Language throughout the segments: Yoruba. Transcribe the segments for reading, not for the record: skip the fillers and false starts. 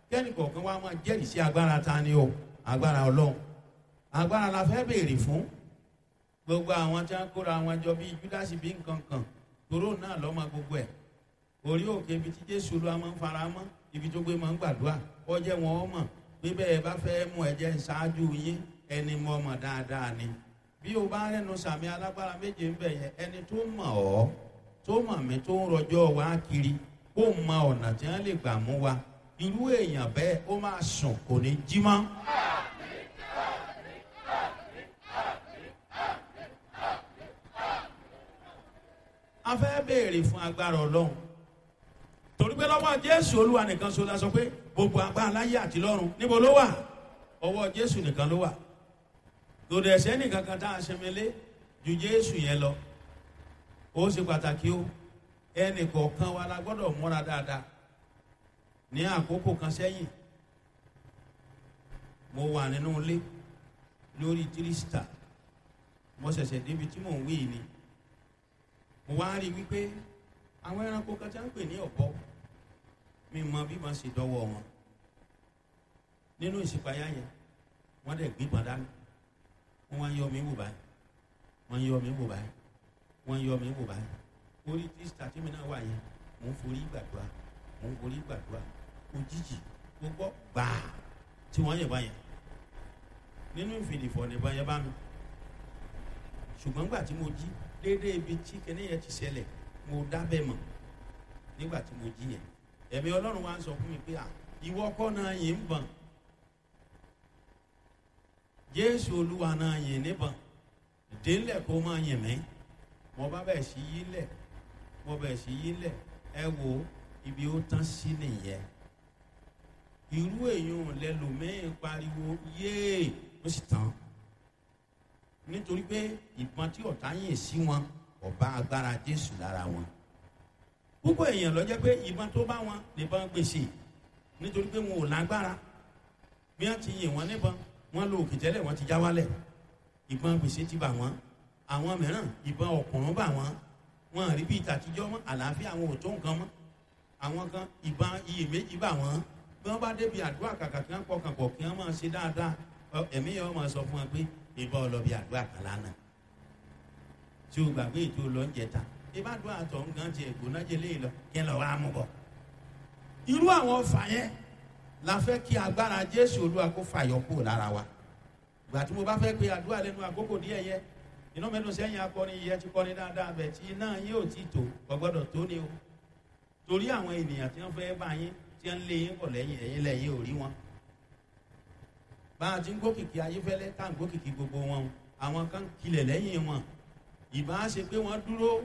Kẹ́ni kọ̀ọ̀kan wa máa jẹ́rìí sí agbára ta ni o, agbára Ọlọ́run. Agbára la fẹ́ béèrè fún. Gbogbo àwọn tí wọ́n kóra wọn jọ bíi Júdásì bí nǹkan kan, toró náà lọ́mọ gbogbo ẹ̀. Orí òkè ibi tí Jésù Olúwa máa ń fara mọ́, ibi tó gbé máa ń gbàdúrà, ọjẹ́ wọn ọmọ pé bẹ́ẹ̀ bá fẹ́ mú ẹ̀jẹ̀ ṣáájú yín, ẹni mọ̀ ọmọ dáadáa ni. Bí o bá rẹ́nu sàmì alágbára méje ń bẹ̀ yẹn, ẹni tó mọ̀ ọ́, tó mọ̀ mí, tó ń rọjọ́ wa kiri, kó mọ ọ̀nà tí wọ́n lè gbà mú wa, irú èèyàn bẹ́ẹ̀ ó máa sùn, kò ní jí mọ́. A fẹ́ béèrè fún agbára Ọlọ́run, torí pé lọ́wọ́ Jésù Olúwa nìkan ṣoṣo la sọ pé gbogbo agbára láyé àti lọ́run, níbo ló wà? Ọwọ́ Jésù nìkan ló wà. Lòdì ẹ̀sẹ̀ nìkan kan tá a ṣẹmẹlé ju Jésù yẹn lọ. Ó ṣe pàtàkì o, ẹnì kọ̀ọ̀kan wa la gbọ́dọ̀ múra dáadáa. Ní àkókò kan sẹ́yìn, mo wà nínú ilé lórí tírísítà, mo ṣẹ̀ṣẹ̀ débi tí mò ń wí ni mo wá rí wípé àwọn ẹranko kan tí wọ́n ń pè ní ọ̀bọ, mi mọ bí wọ́n ṣe dọ́wọ́ wọn nínú ìṣípayá yẹn. Wọ́n dẹ̀ gbígbọ́n dání, wọ́n wá ń yọ mí wò báyìí, wọ́n ń yọ mí wò báyìí, wọ́n ń yọ mí wò báyìí. Orí tírísítà tí mi náà wà yẹn, mò ń forí gbàdúrà, mò ń forí gbàdúrà. Òjijì mo gbọ́ gbàá tí wọ́n yẹ̀ báyẹn nínú ìfìdìfọ̀ nìbọn yẹn bá mi. Ṣùgbọ́n nígbà tí mo jí déédéé ibi tí kinní yẹn ti ṣẹlẹ̀, mo dábẹ́ mọ̀. Nígbà tí mo jí yẹn, ẹ̀mí Ọlọ́run wa ń sọ fún mi pé, à, ìwọ kọ́ náà yìí ń bọ̀n, Jésù Olúwa náà yìn níbọn, délẹ̀ kó máa yìn mí. Mo bá bẹ̀ sí yí lẹ̀, mo bẹ̀ sí yí lẹ̀. Ẹ wo ibi ó tán sí nìyẹn. Irú èèyàn lẹlòmíín pariwo yéè, ó sì tán, nítorí pé ìbọn tí ọ̀tá yìn sí wọn ọba agbára Jésù lára wọn. Púpọ̀ èèyàn ló jẹ́ pé ìbọn tó bá wọn nìbọn gbèsè, nítorí pé wọn ò lágbára. Bí wọ́n ti yìn wọ́n níbọn, wọ́n lo òkè tẹ́lẹ̀, wọ́n ti já wálẹ̀, ìbọn gbèsè ti bà wọ́n. Àwọn mìíràn, ìbọn ọ̀kùnrin bà wọ́n, wọn rí bí ìtàtijọ́ mọ́, àlàáfíà àwọn ò tó nǹkan mọ́. Àwọn kan, ìbọn iyèméjì bà wọ́n. Bí wọ́n bá débi àdúrà, kàkà kí wọ́n pọkàn pọ̀ kí wọ́n máa ṣe dáadáa, ẹ̀mí yẹn wọ́n máa sọ fún wọn pé ìbọn ọlọ́bì àdúrà kan lánàá tí o gbàgbé ètò lọ́njẹta, ìbádùn àtọ̀ nǹkan ti ẹ̀gbọ́n jẹlé lọ kí ẹ lọ wá mú bọ̀. Irú àwọn ọfà yẹn la fẹ́ kí agbára Jésù Olúwa kó fàyọ kúrò lára wa. Ìgbà tí mo bá fẹ́ pe àdúrà lẹ́nu àkókò díẹ̀ yẹ, iná mẹ́nu sẹ́yìn akọrin yẹ ti kọrin dáadáa bẹ̀ tí iná yín ò ti tò, kò gbọ́dọ̀ tó ni o. Torí àwọn ènìyàn tí wọ́n fẹ́ bá yín, tí wọ́n lé yín bọ̀ lẹ́yìn, ẹ̀yìn lẹ́yìn ò rí wọn. Bá a ti ń gòkìkì Ayéfẹ́lẹ́ tá à ń gòkìkì gbogbo wọn, àwọn kan kilẹ̀ lẹ́yìn wọn. Ìbá ṣe pé wọ́n dúró,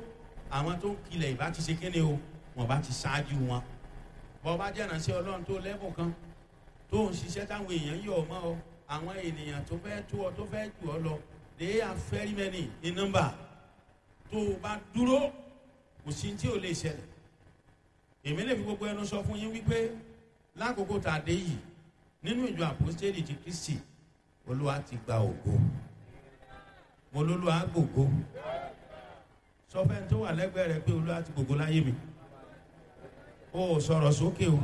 àwọn tó ń kilẹ̀ ìbá ti ṣe kéde o, wọ́n bá ti ṣáájú wọn. Bọ́ bá jẹ́ ìránṣẹ́ Ọlọ́run tó lẹ́bùn kan tó ń ṣiṣẹ́ táwọn èèyàn yọ̀ mọ́ ọ, àwọn ènìyàn tó fẹ́ tó ọ, tó fẹ́ jù ọ lọ, they are very many in number. Tó o bá dúró, kò sí tí ò lè ṣẹlẹ̀. Èmi lè fi gbogbo ẹnu sọ fún yín wípé lákòókò tá a dé yìí nínú ìjọ Àpọ́stélì ti Kristi, Olúwa ti gba ògo. Mo lólúwa gbògo. Sọ fẹ́ni tó wà lẹ́gbẹ̀ẹ́ rẹ pé Olúwa ti gbògo láyé mi. O ò sọ̀rọ̀ sókè o,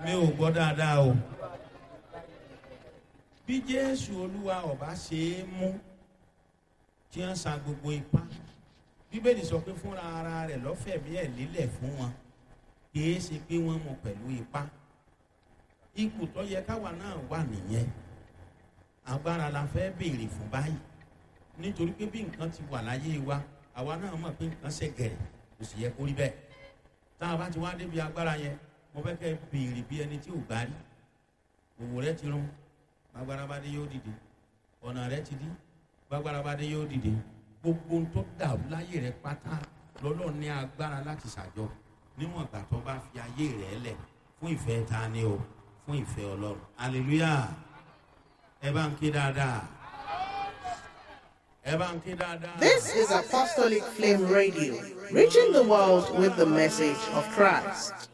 mi ò gbọ́ dáadáa o. Bí Jésù Olúwa ọba ṣe é mú tí wọ́n sa gbogbo ipá, Bíbélì sọ pé fúnra ara rẹ̀ lọ́fẹ̀mí ẹ̀ lílẹ̀ fún wọn, kì í ṣe pé wọ́n mú pẹ̀lú ipá. Ipò tó yẹ káwa náà wà nìyẹn. Agbára la fẹ́ béèrè fún báyìí, nítorí pé bí nǹkan ti wà láyé wa, àwa náà mọ̀ pé nǹkan ṣẹ̀gẹ̀rẹ̀, kò sì yẹ kó rí bẹ́ẹ̀. Tá a bá ti wá débi agbára yẹn, mo fẹ́ kẹ́ béèrè bí ẹni tí ò gbá rí. Òwò rẹ ti rún, gbàgbára bá dé yóò dìde. Ọ̀nà rẹ ti dí, gbàgbára bá dé yóò dìde. Gbogbo ohun tó dàrú láyé rẹ pátá lọ́lọ́ ní agbára láti ṣàjọ, níwọ̀n ìgbà tó bá fi ayé rẹ lẹ̀ fún ìfẹ́ ta ni o, fún ìfẹ́ Ọlọ́run. Hallelujah. Ẹ bá ń ké dáadáa. Ẹ bá ń ké dáadáa. This is Apostolic Flame Radio, reaching the world with the message of Christ.